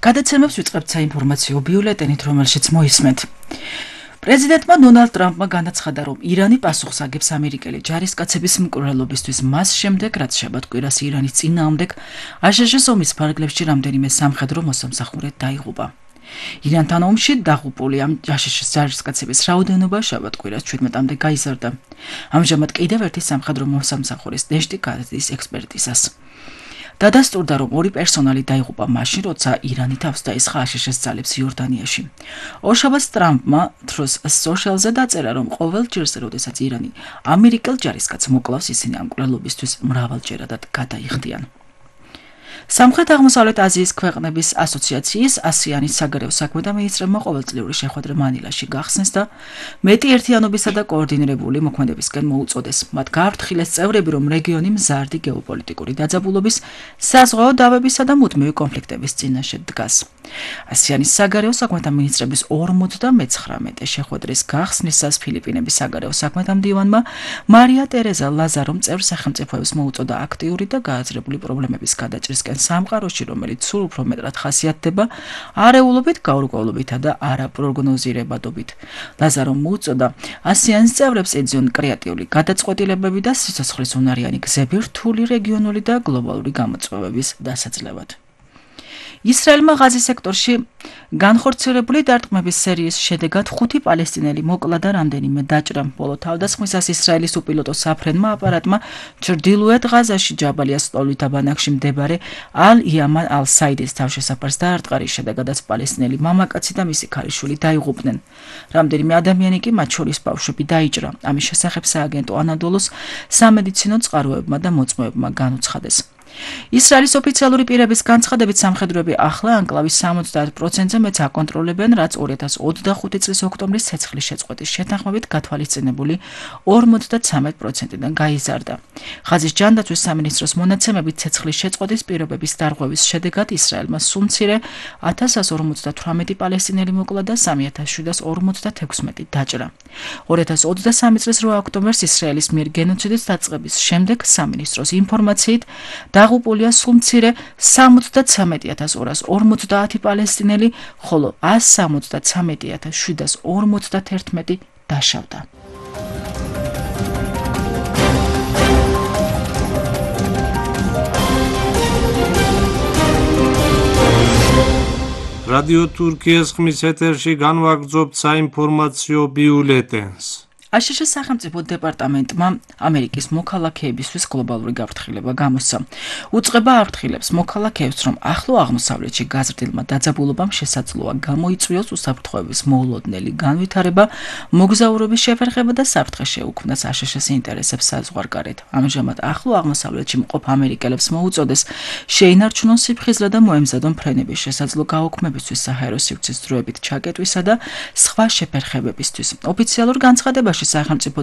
გადაცემებს ვიწყებთ საინფორმაციო ბიულეტენით, რომელშიც მოისმენთ. პრეზიდენტმა დონალდ ტრამპმა განაცხადა, რომ ირანი პასუხს აგებს ამერიკელი ჯარისკაცების მკვლელობისთვის მას შემდეგ, რაც შაბათ-კვირას ირანის წინააღმდეგ აშშ-ის ომის ფარგლებში რამდენიმე სამხედრო მოსამსახურე დაიღუპა. ირანთან ომში დაღუპული ამ აშშ-ის ჯარისკაცების რაოდენობა შაბათ-კვირას 17-მდე გაიზარდა. ამჟამად კიდევ ერთი სამხედრო მოსამსახურის ნეშტი გადის ექსპერტიზას. დადასტურდა, რომ ორი პერსონალი დაიღუპა მაშინ, როცა ირანი თავს დაესხა აშშ-ის ძალებს იორდანიაში. ორშაბათს ტრამპმა Truth Social-ზე დაწერა, რომ ყოველ ჯერს, როდესაც ირანი ამერიკელ ჯარისკაცს მოკლავს, ისინი ამ მკვლელობისთვის მრავალჯერადად გადაიხდიან. სამხრეთ-აღმოსავლეთ აზიის ქვეყნების ასოციაციის ASEAN-ის საგარეო საქმეთა მინისტრებმა ყოველწლიური შეხვედრა მანილაში გახსნეს და მეტი ერთიანობისა და კოორდინირებული მოქმედებისკენ მოუწოდეს. მათ გააფრთხილეს წევრები, რომ რეგიონი მზარდი გეოპოლიტიკური დაძაბულობის, საზღვაო დავებისა და მუდმივი კონფლიქტების წინაშე დგას. ASEAN-ის საგარეო საქმეთა მინისტრების 59 შეხვედრის გახსნისას ფილიპინების საგარეო საქმეთა მდივანმა მარია ტერეზა ლაზარომ წევრ სახელმწიფოებს მოუწოდა აქტიური და გააზრებული პრობლემების გადაჭრისკენ სამყაროში, რომელიც სულ უფრო მეტად ხასიათდება არეულობით, გაურკვევლობითა და არაპროგნოზირებადობით. ლაზარომ მოუწოდა ASEAN-ის წევრებს ეძიონ კრეატიული გადაწყვეტილებები და სიცოცხლისუნარიანი გზები რთული რეგიონული და გლობალური გამოწვევების დასაძლევად. ისრაელმა ღაზის სექტორში განხორციელებული დარტყმების სერიის შედეგად 5 პალესტინელი მოკლა და რამდენიმე დაჭრა. ბოლო თავდასხმისას ისრაელის უპილოტო საფრენმა აპარატმა ჩრდილოეთ ღაზაში ჯაბალიას ლოლვითა ბანაკში მდებარე ალ-იამან ალ-საიდის თავშესაფარს დაარტყა, რის შედეგადაც პალესტინელი მამაკაცი და მისი ქალიშვილი დაიღუპნენ. რამდენიმე ადამიანი კი, მათ შორის ბავშვები, დაიჭრა. ამის შესახებ სააგენტო ანადოლოს სამედიცინო წყაროებმა და მოწმოებმა განუცხადეს. ისრაელის ოფიციალური პირების განცხადებით სამხედროები ახლა ანკლავის 70%-ზე მეც აკონტროლებენ, რაც 2025 წლის ოქტომბრის ცეცხლის შეწყვეტის შეთანხმებით გათვალისწინებული 53%-დან გაიზარდა. ღაზის ჯანდაცვის სამინისტროს მონაცემებით ცეცხლის შეწყვეტის პირობების დარღვევის შედეგად ისრაელმა სულ მცირე 1158 პალესტინელი მოკლა და 3756 დაჭრა. 2023 წლის 8 ოქტომბერს ისრაელის მიერ გენოციდით დაწყების შემდეგ სამინისტროს ინფორმაციით დაღუპულია სულ მცირე 73250 პალესტინელი, ხოლო 173751 დაშავდა. რადიო თურქიის ხმის ეთერში განვაგრძობთ საინფორმაციო ბიულეტენს. აშშ-ის სახელმწიფო დეპარტამენტმა ამერიკის მოქალაქეებისთვის გლობალური გაფრთხილება გამოსცა. უწყება აფრთხილებს მოქალაქეებს, რომ ახლო აღმოსავლეთში გაზრდილმა დაძაბულობამ შესაძლოა გამოიწვიოს უსაფრთხოების მოულოდნელი განვითარება, მოგზაურობის შეფერხება და საფრთხე შეუქმნას აშშ-ის ინტერესებს საზღვარგარეთ. ამჟამად ახლო აღმოსავლეთში მყოფ ამერიკელებს მოუწოდეს შეინარჩუნონ სიფხიზლე და მოემზადონ ფრენების შესაძლო გაუქმებისთვის, საჰაერო სივრცის დროებით ჩაკეტვისა და სხვა შეფერხებებისთვის. ოფიციალურ განცხადებაში სახელმწიფო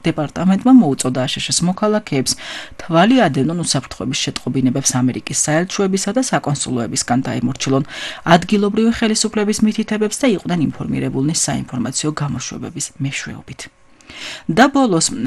დეპარტამენტმა მოუწოდა აშშ-ის მოქალაქეებს თვალი ადევნონ უსაფრთხოების შეტყობინებებს ამერიკის საელჩოებისა და საკონსულოებისგან დაემორჩილონ ადგილობრივი ხელისუფლების მითითებებს და იყვნენ ინფორმირებულნი საინფორმაციო გამოშვებების მეშვეობით. და ბოლოს